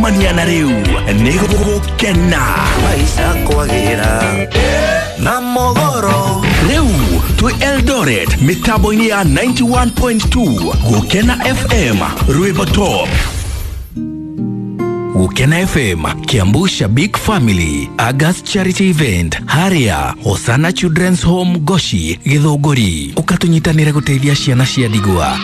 Gũcemania na rĩu nĩ gũkena. Maisha kwagĩra na mogoro. Rĩu twĩ Eldoret mĩtambo-inĩ ya 91.2 Gũkena FM, rwĩmbo top. Gũkena FM, Kiambu Shabik Family, August Charity Event, Haria, Hosana Children's Home Goshi, Gĩthũngũri. Ũkatũnyitanĩre gũteithia ciana cia ndigwa.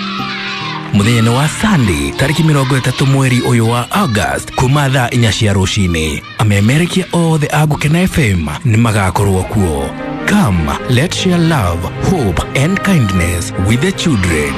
Mũthenya nĩ wa Sunday tarĩki 30 mweri ũyũ wa August kuma thaa 4 cia rũcinĩ. Amemerekia othe a Gũkena FM nĩ magakorwo kuo. Come, let's share love, hope and kindness with the children.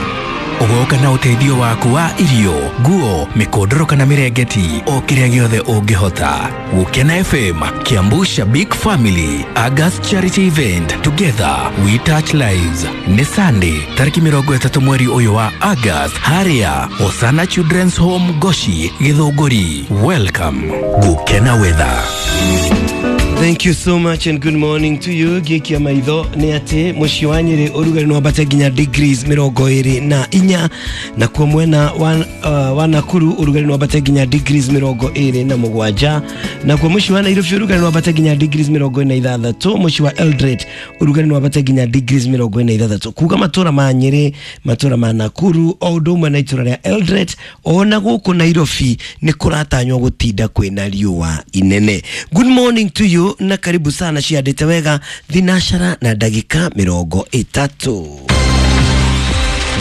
Ũgoka na ũteithio waku wa irio, nguo, mĩkondoro kana mĩrengeti, o kĩrĩa gĩothe ũngĩhota. Gũkena FM, Kiambu Shabik Family, August Charity Event, Together We Touch Lives. Nĩ Sunday, tarĩki 30 mweri ũyũ wa August, harĩa Hosana Children's Home Goshi, Gĩthũngũri. Welcome. Gũkena Weather. Thank you so much and good morning to you. Gĩkia maitho nĩ atĩ mũciĩ wa Nyĩrĩ ũrugarĩ nĩ wambate nginya degrees 24, nakuo mwena wa Nakuru ũrugarĩ nĩ wambate nginya degrees 27, nakuo mũciĩ wa Nairobi ũrugarĩ nĩ wambate nginya degrees 46, mũciĩ wa Eldoret ũrugarĩ nĩ wambate nginya degrees 46. Kuga matũra ma Nyĩrĩ, matũra ma Nakuru o ũndũ ũmwe na itũra rĩa Eldoret ona gũkũ Nairobi nĩ kũratanywo gũtinda kwĩna riũa inene. Good morning to you na karibu sana ciandĩte wega thinashara na ndagĩka 30.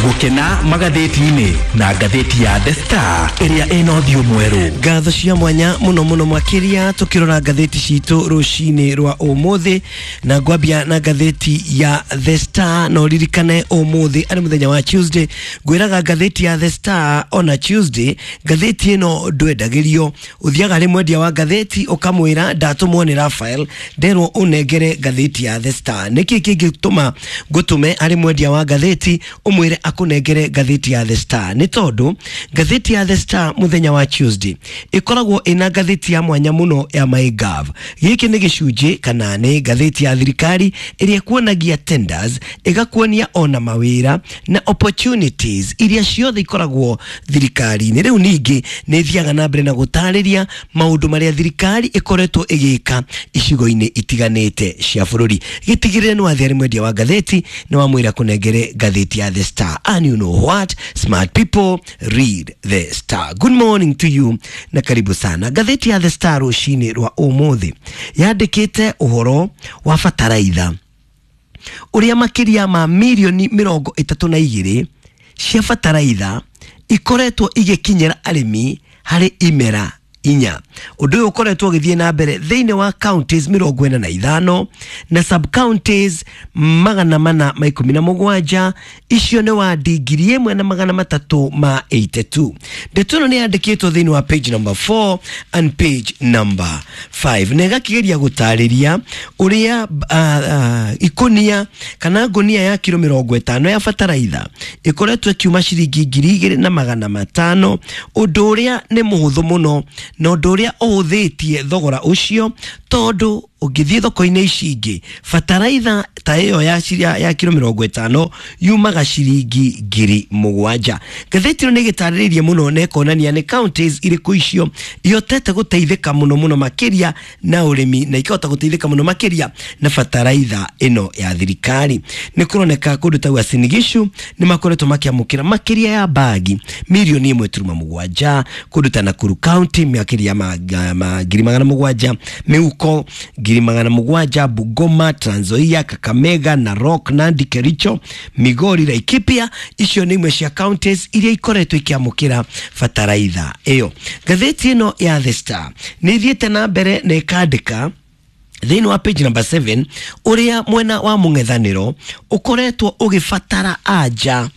Gũkena magathĩti-inĩ na ngathĩti ya The Star ĩrĩa ĩna ũthiũ mwerũ. Ngatho cia mwanya mũno mũno makĩria tũkĩrora ngathĩti citũ rũcinĩ rwa ũmũthĩ, na ngwambia na ngathĩti ya The Star. Na ũririkane ũmũthĩ arĩ mũthenya wa Tuesday, ngwĩraga ngathĩti ya The Star ona Tuesday ngathĩti ĩno ndwendagĩrio, ũthiaga harĩ mwendia wa ngathĩti ũkamwĩra ndatũmwo nĩ Raphael nderwo ũnengere ngathĩti ya The Star. Nĩkĩ kĩngĩtũma ngũtũme harĩ mwendia wa ngathĩti ũmwĩre akunengere ngathĩti ya The Star? Nĩ tondũ ngathĩti ya The Star mũthenya wa Tuesday ĩkoragwo ĩna ngathĩti ya mwanya mũno ya MyGov. Gĩkĩ nĩ gĩcunjĩ kana nĩ ngathĩti ya thirikari ĩrĩa ĩkuonagia tenders, ĩgakuonia ona mawĩra na opportunities iria ciothe ikoragwo thirikari-inĩ. Rĩu ningĩ nĩ ĩthiaga na mbere na gũtarĩria maũndũ marĩa thirikari ĩkoretwo ĩgĩka icigo-inĩ itiganĩte cia bũrũri. Gĩtigĩrĩre nĩ wathiĩ harĩ mwendia wa ngathĩti na wamwĩra kũnengere ngathĩti ya The Star. And you know what? Smart people read The Star. Good morning to you na karibu sana. Ngathĩti ya The Star rũcinĩ rwa ũmũthĩ yandĩkĩte ũhoro wa bataraitha ũrĩa makĩria ma mirioni 32 cia bataraitha ikoretwo igĩkinyĩra arĩmi harĩ imera 4. Ũndũ ũyũ ũkoretwo ũgĩthiĩ na mbere thĩinĩ wa counties 45 na sub counties 417, icio nĩ wadi 1382. Ndeto ĩno nĩ yandĩkĩtwo thĩinĩ wa page number 4 and page number 5, na ĩgakĩgeria gũtarĩria ũrĩa ikũnia kana ngũnia ya kiro 50 ya bataraitha ĩkoretwo ĩkiuma ciringi 2500, ũndũ ũrĩa nĩ mũhũthũ mũno na ũndũ ũrĩa ũhũthĩtie thogora ũcio, tondũ ũngĩthiĩ thoko-inĩ ici ingĩ bataraitha ta ĩyo ya kiro 50 yumaga ciringi 7,000. Ngathĩti ĩno nĩ ĩgĩtarĩrĩirie mũno na ĩkonania nĩ counties irĩkũ icio ihotete gũteithĩka mũno mũno makĩria na ũrĩmi na ikahota gũteithĩka mũno makĩria na bataraitha ĩno ya thirikari. Nĩ kũroneka kũndũ ta Uasin Gishu nĩ makoretwo makĩamũkĩra makĩria ya bagi mirioni 1.7, kũndũ ta Nakuru County makĩria ma 700,000, mĩhuko 700,000, Bungoma, Trans Nzoia, Kakamega, Narok, Nandi, Kericho, Migori, Laikipia. Icio nĩ imwe cia counties iria ikoretwo ikĩamũkĩra bataraitha ĩyo. Ngathĩti ĩno ya The Star nĩ ĩthiĩte na mbere na ĩkandĩka thĩinĩ wa page number 7 ũrĩa mwena wa mũng'ethanĩro ũkoretwo ũgĩbatara anja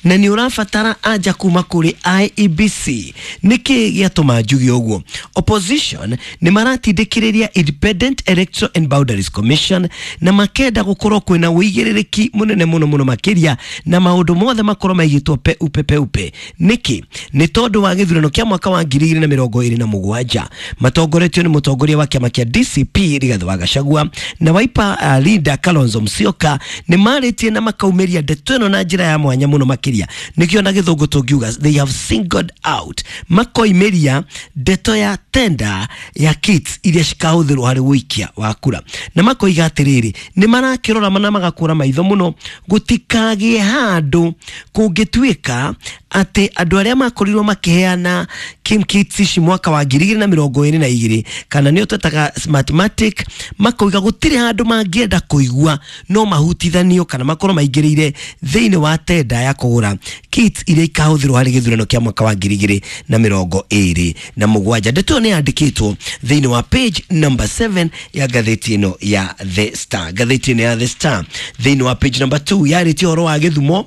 na nĩ ũrabatara anja kuma kũrĩ IEBC. Nĩkĩ gĩatũma njuge ũguo? Opposition nĩ maratindĩkĩrĩria Independent Electoral and Boundaries Commission na makenda gũkorwo kwĩna ũigĩrĩrĩki mũnene mũno mũno makĩria na maũndũ mothe makorwo maigĩtwo peupe peupe. Nĩkĩ? Nĩ tondũ wa gĩthurano kĩa mwaka wa 2027 matongoretio nĩ mũtongoria wa kĩama kĩa DCP Rigathi wa Gachagua na Wiper leader Kalonzo Musyoka nĩ marĩtie na makaumĩria ndeto ĩno na njĩra ya mwanya mũno. makĩria. Nĩkĩo na gĩthũngũ tũngiuga they have singled out, makoimĩria ndeto ya tenda ya kits iria cikahũthĩrwo harĩ ũikia wa kura, na makoiga atĩrĩrĩ, nĩ marakĩrora na magakũra maitho mũno gũtikagĩe handũ kũngĩtuĩka atĩ andũ arĩa makorirwo makĩheana kim kits ici mwaka wa 2022 kana nĩo twetaga Smartmatic, makoiga gũtirĩ handũ mangĩenda kũigua no mahutithanio kana makorwo maingĩrĩire thĩinĩ wa tenda ya kũgũra kits iria ikahũthĩrwo harĩ gĩthurano kĩa mwaka wa 2027. Ndeto ĩyo nĩ yandĩkĩtwo thĩinĩ wa page number 7 ya ngathĩti ĩno ya The Star. Ngathĩti ĩno ya The Star thĩinĩ wa page number 2 yarĩtie ũhoro wa gĩthumo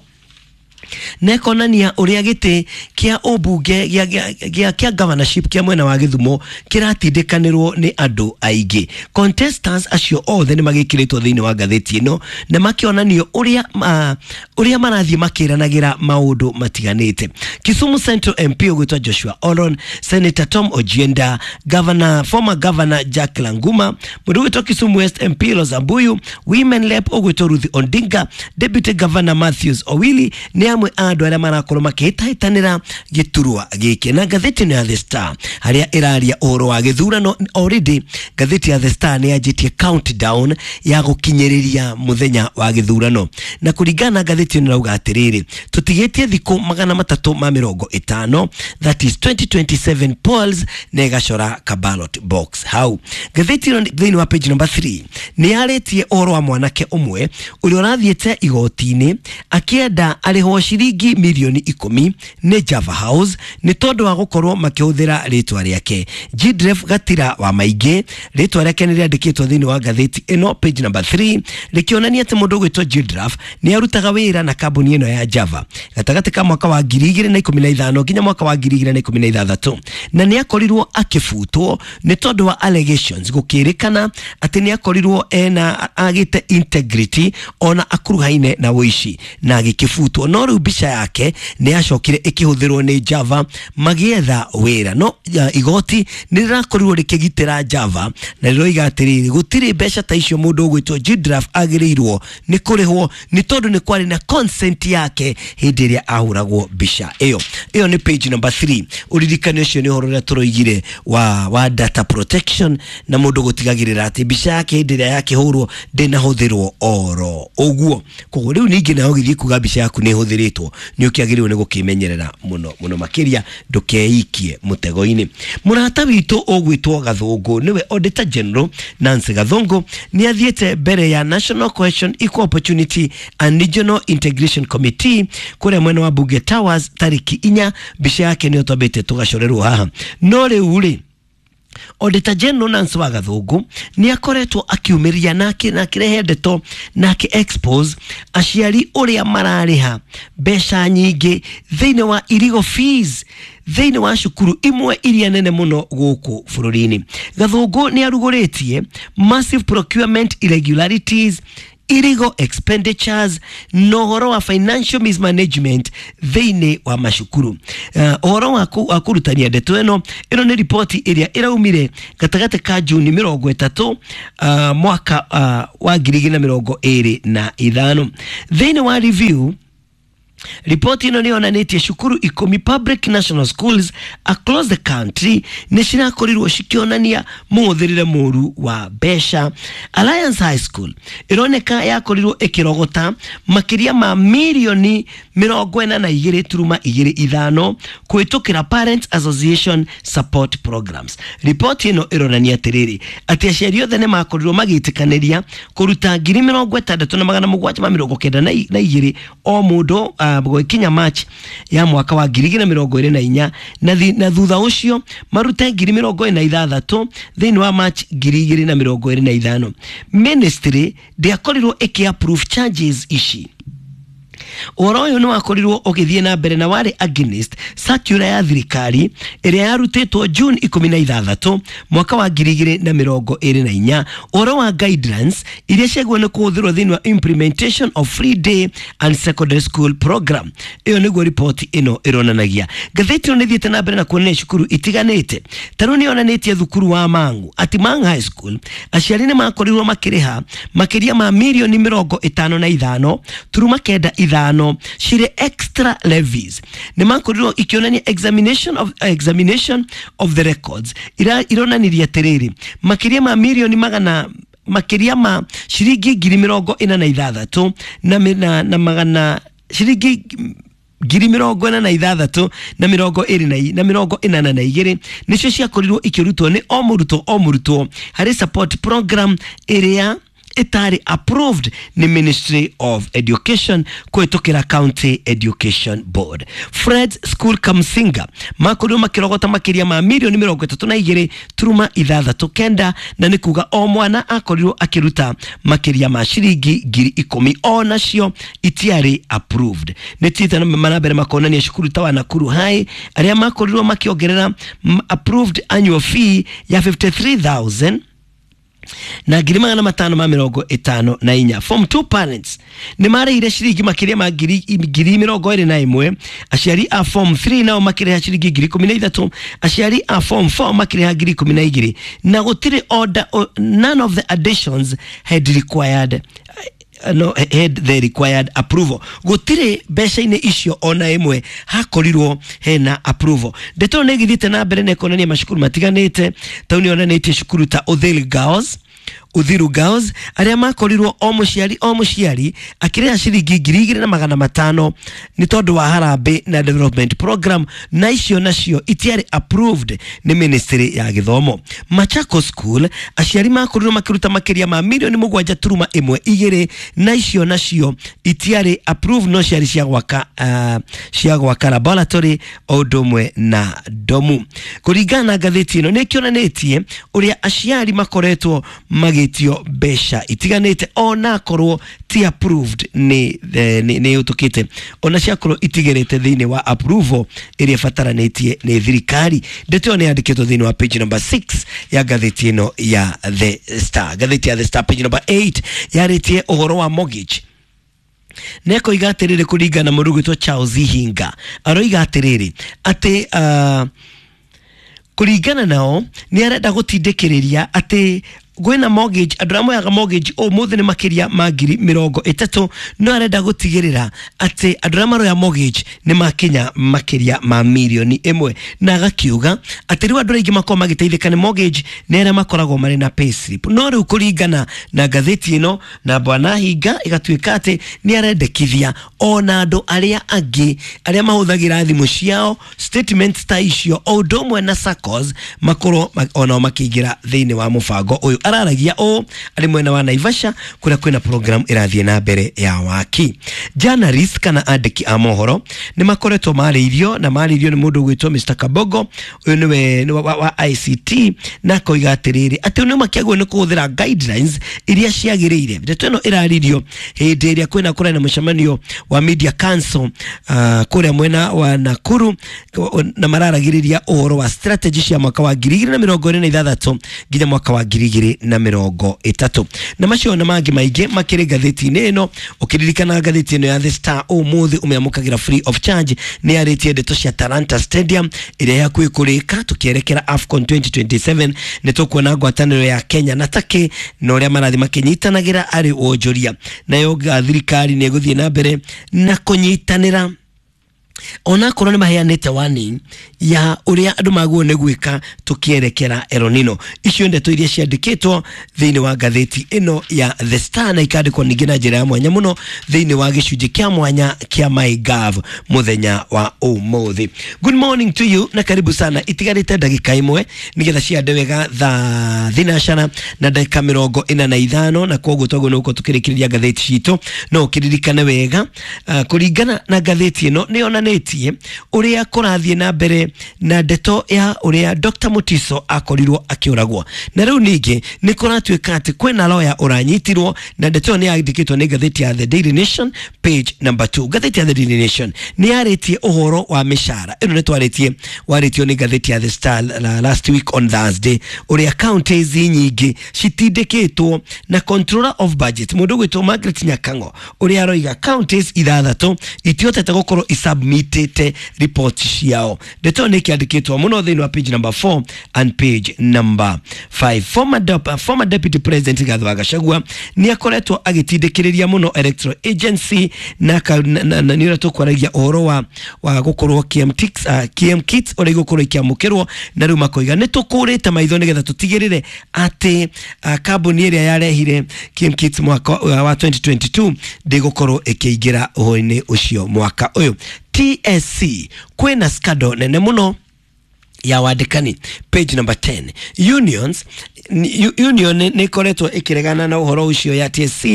na ĩkonania ũrĩa gĩtĩ kĩa ũmbunge gĩa governorship kĩa mwena wa Gĩthumo kĩratindĩkanĩrwo nĩ andũ aingĩ. Contestants acio othe nĩ magĩkĩrĩtwo thĩinĩ wa ngathĩti ĩno na makĩonanio ũrĩa marathiĩ makĩranagĩra maũndũ matiganĩte. Kisumu Central MP ũgwĩtwo Joshua Oron, Senator Tom Ojienda, Governor, former Governor Jack Languma, mũndũ ũgwĩtwo Kisumu West MP Rosa Mbuyu, Women Rep ũgwĩtwo Ruth Odinga, Deputy Governor Matthews Owili nĩ amwe a andũ arĩa marakorwo makĩhĩtahĩtanĩra gĩturwa gĩkĩ. Na ngathĩti ĩno ya The Star harĩa ĩraria ũhoro wa gĩthurano, already ngathĩti ya The Star nĩ yanjĩtie countdown ya gũkinyĩrĩria mũthenya wa gĩthurano, na kũringana na ngathĩti ĩno ĩrauga atĩrĩrĩ, tũtigĩtie thikũ 350, that is 2027 polls, na ĩgacora ka ballot box hau. Ngathĩti ĩno thĩinĩ wa page number 3 nĩ yarĩtie ũhoro wa mwanake ũmwe ũrĩa ũrathiĩte igoti-inĩ akĩenda arĩhwo ciringi milioni 10 nĩ Java House nĩ tondũ wa gũkorwo makĩhũthĩra rĩtwa rĩake. Jidref Gatira wa Maingĩ, rĩtwa rĩake nĩ rĩandĩkĩtwo thĩinĩ wa ngathĩti ĩno page number 3, rĩkĩonania atĩ mũndũ ũgwĩtwo Jidref nĩ arutaga wĩra na kambuni ĩno ya Java gatagatĩ ka mwaka wa 2015 nginya mwaka wa 2016, na nĩ akorirwo akĩbutwo nĩ tondũ wa allegations gũkĩrĩkana atĩ nĩ akorirwo ena agĩte integrity ona akuruhaine na ũici na agĩkĩbutwo. No rĩu mbica yake nĩ yacokire ĩkĩhũthĩrwo nĩ Java magĩetha wĩra, no igoti nĩ rĩrakorirwo rĩkĩgitĩra Java na rĩroiga atĩrĩrĩ, gũtirĩ mbeca ta icio mũndũ ũgwĩtwo Jidraf agĩrĩirwo nĩ kũrĩhwo nĩ tondũ nĩ kwarĩ na consent yake hĩndĩ ĩrĩa ahũragwo mbica ĩyo. Ĩyo nĩ page number 3. Ũririkane ũcio nĩ ũhoro ũrĩa tũroigire wa data protection na mũndũ gũtigagĩrĩra atĩ mbica yake hĩndĩ ĩrĩa yakĩhũrwo ndĩnahũthĩrwo oro ũguo. Koguo rĩu ningĩ nawe ũgĩthiĩ kuga mbica yaku nĩ ĩhũthĩrĩtwo nĩ ũkĩagĩrĩirwo nĩ gũkĩmenyerera mũno mũno makĩria ndũkeikie mũtego-inĩ. Mũrata witũ ũgwĩtwo Gathũngũ nĩwe Auditor General Nancy Gathũngũ nĩ athiĩte mbere ya National Cohesion, Equal Opportunity and Regional Integration Committee kũrĩa mwena wa Bunge Towers tarĩki 4. Mbica yake nĩyo twambĩte tũgacorerwo haha. No rĩu rĩ, Auditor General Nancy wa Gathũngũ nĩ akoretwo akiumĩria na akĩrehe ndeto na akĩ expose aciari ũrĩa mararĩha mbeca nyingĩ thĩinĩ wa illegal fees thĩinĩ wa cukuru imwe iria nene mũno gũkũ bũrũri-inĩ. Gathũngũ nĩ arugũrĩtie massive procurement irregularities, illegal expenditures na ũhoro wa financial mismanagement thĩinĩ wa macukuru. Ũhoro wa kũrutania ndeto ĩno nĩ ripoti ĩrĩa ĩraumire gatagatĩ ka Juni 30 mwaka wa 2025. Thĩinĩ wa review, ripoti ĩno nĩ yonanĩtie cukuru 10 public national schools across the country nĩ cirakorirwo cikĩonania mũhũthĩrĩre mũru wa mbeca. Alliance High School ĩroneka yakorirwo ĩkĩrogota makĩria ma milioni 42.25 kũhĩtũkĩra Parents Association support programs. Ripoti ĩno ĩronania atĩrĩrĩ, atĩ aciari othe nĩ makorirwo magĩtĩkanĩria kũruta 67,792 o mũndũ gũgĩkinya March ya mwaka wa 2024, na thutha ũcio marute 46,000 thĩinĩ wa March 2025. Ministry ndĩakorirwo ĩkĩ approve charges ici. Ũhoro ũyũ nĩ wakorirwo ũgĩthiĩ na mbere na warĩ against circular ya thirikari ĩrĩa yarutĩtwo June 16 mwaka wa 2024, ũhoro wa guidelines iria ciagĩrĩirwo nĩ kũhũthĩrwo thĩinĩ wa implementation of free day and secondary school program. Ĩyo nĩguo ripoti ĩno ĩronanagia. Ngathĩti ĩno nĩ ĩthiĩte na mbere na kuonania cukuru itiganĩte. Ta rĩu nĩ yonanĩtie thukuru wa Mang'u, atĩ Mang'u High School aciari nĩ makorirwo makĩrĩha makĩria ma milioni 55.95 5 cirĩ extra levies. Nĩ makorirwo ikĩonania examination of the records ironanirie atĩrĩrĩ, makĩria ma mirioni magana, makĩria ma ciringi 46,000 na magana ciringi 46,000 na 20 na 82 nicio ciakorirwo ikĩrutwo nĩ o mũrutwo o mũrutwo harĩ support program ĩrĩa ĩtarĩ approved nĩ Ministry of Education kũhĩtũkĩra County Education Board. Fred School Kamsinga makorirwo makĩrogota makĩria ma mirioni 32 turuma 69, na nĩ kuga o mwana akorirwo akĩruta makĩria ma ciringi 10,000, o nacio itiarĩ approved. Nĩ tita na manambere makonania cukuru ta wa Nakuru High arĩa makorirwo makĩongerera approved annual fee ya 53,000 na 554. Form 2 parents nĩ marĩhire ciringi makĩria ma 21,000, aciari a form 3 nao makĩrĩha ciringi 13,000, aciari a form 4 makĩrĩha 12,000, na gũtirĩ order, none of the additions had required no had the required approval. Gũtirĩ mbeca-inĩ icio ona ĩmwe hakorirwo hena approval. Ndeto nĩ ĩgĩthiĩte na mbere na ĩkonania macukuru matiganĩte. Tau nĩ yonanĩtie cukuru ta Uthiru Girls, Uthiru Girls arĩa makorirwo o mũciari o mũciari akĩrĩha ciringi 2,500 nĩ tondũ wa harambĩ na development program, na icio nacio itiarĩ approved nĩ ministry ya gĩthomo. Machakos School aciari makorirwo makĩruta makĩria ma mirioni 7 turuma 1 2, na icio nacio itiarĩ approved, no ciarĩ cia gwaka laboratory o ũndũ ũmwe na domu. Kũringana na ngathĩti ĩno nĩ ĩkĩonanĩtie ũrĩa aciari makoretwo magĩtio mbeca itiganĩte ona korwo ti approved nĩ ũtũkĩte, ona ciakorwo itigerete thĩinĩ wa approval ĩrĩa ĩbataranĩtie nĩ thirikari. Ndeto ĩyo nĩ yandĩkĩtwo thĩinĩ wa page number 6 ya ngathĩti ĩno ya The Star. Ngathĩti ya The Star page number 8 yarĩtie ũhoro wa mortgage. Nekoiga atĩrĩrĩ, kũringana na mũndũ ũgwĩtwo Charles Hinga, aroiga atĩrĩrĩ atĩ kũringana nao nĩ arenda gũtindĩkĩrĩria atĩ gwĩna mortgage, andũ arĩa moyaga mortgage ũmũthĩ nĩ makĩria ma 30,000, no arenda gũtigĩrĩra atĩ andũ arĩa maroya mortgage nĩ makinya makĩria ma mirioni 1, na agakiuga atĩ rĩu andũ aingĩ makoragwo magĩteithĩka nĩ mortgage nĩ arĩa makoragwo marĩ na payslip. No rĩu kũringana na ngathĩti ĩno na Bwana Hinga ĩgatuĩka atĩ nĩ arendekithia ona andũ arĩa angĩ arĩa mahũthagĩra thimũ ciao statements ta icio o ũndũ ũmwe na SACCOs makorwo onao makĩingĩra thĩinĩ wa mũbango ũyũ. Araragia ũũ arĩ mwena wa Naivasha kũrĩa kwĩna program ĩrathiĩ na mbere ya waki. Journalists kana andĩki a mohoro nĩ makoretwo marĩirio na marĩirio nĩ mũndũ ũgwĩtwo Mr Kabogo, ũyũ nĩwe wa ICT, na akoiga atĩrĩrĩ atĩ nĩ makĩagwo nĩ kũhũthĩra guidelines iria ciagĩrĩire. Ndeto ĩno ĩraririo hĩndĩ ĩrĩa kwĩna kũrĩa na mũcemanio wa Media Council kũrĩa mwena wa Nakuru, na mararagĩrĩria ũhoro wa strategy cia mwaka wa 2026 nginya mwaka wa 2030. Na macio na mangĩ maingĩ makĩrĩ ngathĩti-inĩ ĩno. Ũkĩririkana ngathĩti ĩno ya The Star ũmũthĩ ũmĩamũkagĩra free of charge, nĩ yarĩtie ndeto cia Talanta Stadium ĩrĩa yakuĩ kũrĩka tũkĩerekera AFCON 2027. Nĩ tũkuona ngwatanĩro ya Kenya na Turkey na ũrĩa marathiĩ makĩnyitanagĩra arĩ wonjoria, nayo thirikari nĩ ĩgũthiĩ na mbere na kũnyitanĩra onakorwo nĩ maheanĩte warning ya ũrĩa andũ magwo nĩ gwĩka tũkĩerekera El Nino. Icio ndeto iria ciandĩkĩtwo thĩinĩ wa ngathĩti ĩno ya The Star na ikandĩkwo ningĩ na njĩra ya mwanya mũno thĩinĩ wa gĩcunjĩ kĩa mwanya kĩa MyGov mũthenya wa ũmũthĩ. Good morning to you na karibu sana. Itigarĩte ndagĩka 1 nĩgetha ciande wega thaa 9 na ndagĩka 45, na koguo twaguo nĩ gũkorwo tũkĩrĩkĩrĩria ngathĩti citũ. No ũkĩririkane wega kũringana na ngathĩti ĩno nĩ yonanĩtie ũrĩa kũrathiĩ na mbere na ndeto ya ũrĩa Dr. Mutiso akorirwo akĩũragwo, na rĩu ningĩ nĩ kũratuĩka atĩ kwĩna lawyer ũranyitirwo, na ndeto ĩyo nĩ yandĩkĩtwo nĩ ngathĩti ya The Daily Nation page number 2. Ngathĩti ya The Daily Nation nĩ yarĩtie ũhoro wa mĩcara ĩno, nĩ twarĩtie warĩtio nĩ ngathĩti ya The Star last week on Thursday, ũrĩa counties nyingĩ citindĩkĩtwo na controller of budget mũndũ ũgwĩtwo Margaret Nyakango, ũrĩa aroiga counties 6 itihotete gũkorwo isubmit submitĩte report ciao. Ndeto nĩ kĩandĩkĩtwo mũno thĩinĩ wa page number 4 and page number 5. Former deputy president Rigathi wa Gachagua nĩ akoretwo agĩtindĩkĩrĩria mũno electoral agency na nĩ ũrĩa tũkwaragia ũhoro wa gũkorwo KM kits ũrĩa igũkorwo ikĩamũkĩrwo, na rĩu makoiga nĩ tũkũrĩte maitho nĩgetha tũtigĩrĩre atĩ kambuni ĩrĩa yarehire KM kits mwaka wa 2022 ndĩgũkorwo ĩkĩingĩra ũhoro-inĩ ũcio mwaka ũyũ. TSC kwĩna scandal nene mũno ya wandĩkani, page number 10. Unions union nĩ ĩkoretwo ĩkĩregana na ũhoro ũcio ya TSC,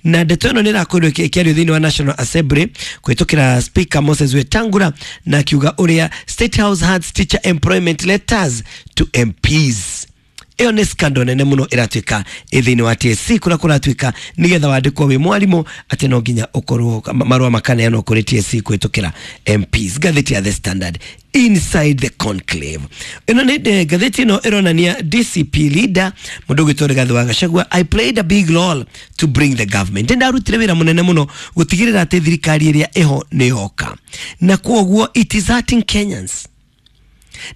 na ndeto ĩno nĩ ĩrakorirwo ĩkĩario thĩinĩ wa National Assembly kũhĩtũkĩra Speaker Moses Wetangula, na akiuga ũrĩa State House hands teacher employment letters to MPs. Ĩyo nĩ scandal nene mũno ĩratuĩka ĩ thĩinĩ wa TSC, kũrĩa kũratuĩka nĩgetha wandĩkwo wĩ mwarimũ atĩ no nginya ũkorwo marũa makaneanwo kũrĩ TSC kũhĩtũkĩra MPs. Ngathĩti ya The Standard, inside the conclave, ĩno nĩ ngathĩti ĩno ĩronania DCP leader mũndũ ũgwĩtwo Rigathi wa Gachagua, "I played a big role to bring the government." Ndarutire wĩra mũnene mũno gũtigĩrĩra atĩ thirikari ĩrĩa ĩho nĩ yoka, na kwoguo it is hurting Kenyans,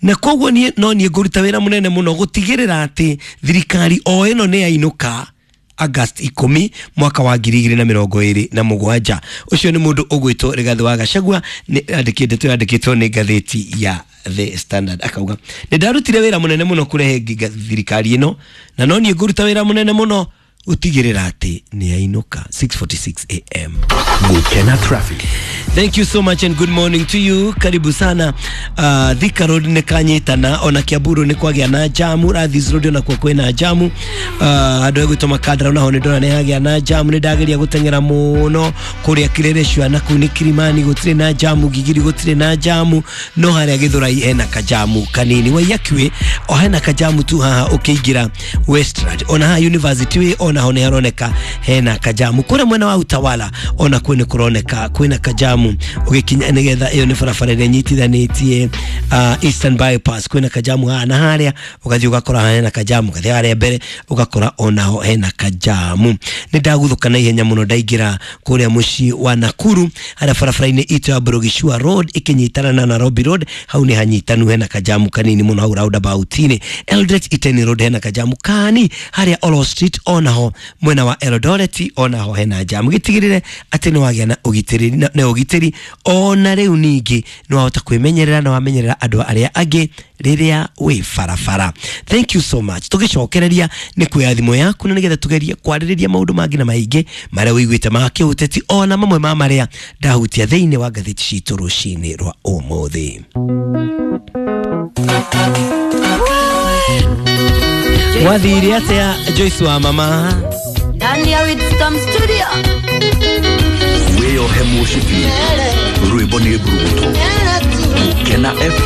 na koguo niĩ no niĩ ngũruta wĩra mũnene mũno gũtigĩrĩra atĩ thirikari o ĩno nĩ yainũka August 10 mwaka wa 2027. Ũcio nĩ mũndũ ũgwĩtwo Rigathi wa Gachagua, nĩ andĩkĩtwo ndeto yandĩkĩtwo nĩ ngathĩti ya The Standard, akauga nĩ ndarutire wĩra mũnene mũno kũrehe thirikari ĩno, na no niĩ ngũruta wĩra mũnene mũno gũtigĩrĩra atĩ nĩ yainũka. 6:46 am. Gukena traffic. Thank you so much and good morning to you. Karibu sana. Thika Road nĩ kanyitana, ona Kiamburu nĩ kwagĩa na jamu, Rathis Road ona kuo kwĩna jamu. Andũ egwĩtwo Makandara onaho nĩ ndona nĩ hagĩa na jamu, nĩ ndageria gũteng'era mũno kũrĩa Kileleshwa na kũu nĩ Kilimani gũtirĩ na jamu, Gigiri gũtirĩ na jamu, no harĩa Githurai hena kajamu kanini. Waiyaki o hena kajamu tu haha ũkĩingĩra Westland, ona haha University Way onaho nĩ haroneka hena kajamu. Kũrĩa mwena wa Utawala ona kuo nĩ kũroneka kwĩna kajamu ũgĩkinya, nĩgetha ĩyo nĩ barabara ĩrĩa nyitithanĩtie Eastern Bypass, kwĩna kajamu haha na harĩa ũgathiĩ ũgakora hena kajamu, ũgathiĩ harĩa mbere ũgakora onaho hena kajamu. Nĩ ndaguthũka na ihenya mũno ndaingĩra kũrĩa mũciĩ wa Nakuru, harĩa barabara-inĩ itũ ya Burugishua Road ĩkĩnyitana na Nairobi Road, hau nĩ hanyitanu, hena kajamu kanini mũno hau roundabout-inĩ. Eldoret Iten Road hena kajamu kani, harĩa Olo Street onaho mwena wa Eldoret onaho hena jamu. Gĩtigĩrĩre atĩ nĩ wagĩa na ũgitĩri na ũgitĩri, ona rĩu ningĩ nĩ wahota kwĩmenyerera na wamenyerera andũ arĩa angĩ rĩrĩa wĩ barabara. Thank you so much. Tũgĩcokereria nĩ kuoya thimũ yaku na nĩgetha tũgerie kwarĩrĩria maũndũ mangĩ na maingĩ marĩa ũiguĩte ma kĩũteti, ona mamwe ma marĩa ndahutia thĩinĩ wa ngathĩti citũ rũcinĩ rwa ũmũthĩ. Wathire atĩa Joyce wa mama? Ndani ya Wisdom Studio. Wĩyohe mũcibi, rwĩmbo nĩ mburuguto. Gukena.